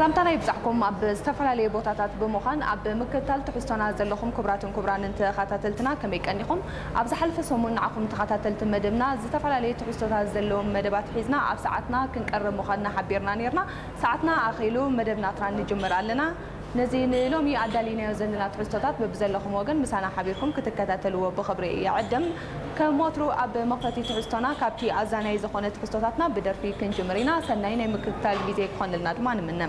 ሰላምታና ይብጻሕኩም። ኣብ ዝተፈላለየ ቦታታት ብምዃን ኣብ ምክትታል ትሕዝቶና ዘለኹም ክቡራትን ክቡራንን ተኸታተልትና ከመይ ቀኒኹም? ኣብ ዝሓለፈ ሰሙን ንዓኹም ተኸታተልቲ መደብና ዝተፈላለየ ትሕዝቶታት ዘለዎም መደባት ሒዝና ኣብ ሰዓትና ክንቀርብ ምዃንና ሓቢርና ነይርና። ሰዓትና ኣኺሉ መደብ ናትና ንጅምር ኣለና። ነዚ ንሎሚ ኣዳሊናዮ ዘለና ትሕዝቶታት በብዘለኹም ወገን ምሳና ሓቢርኩም ክትከታተልዎ ብኽብሪ ይዕድም። ከም ወትሩ ኣብ መኽፈቲ ትሕዝቶና ካብቲ ኣዛናይ ዝኾነ ትሕዝቶታትና ብደርፊ ክንጅምር ኢና። ሰናይ ናይ ምክትታል ግዜ ክኾነልና ድማ ንምነ።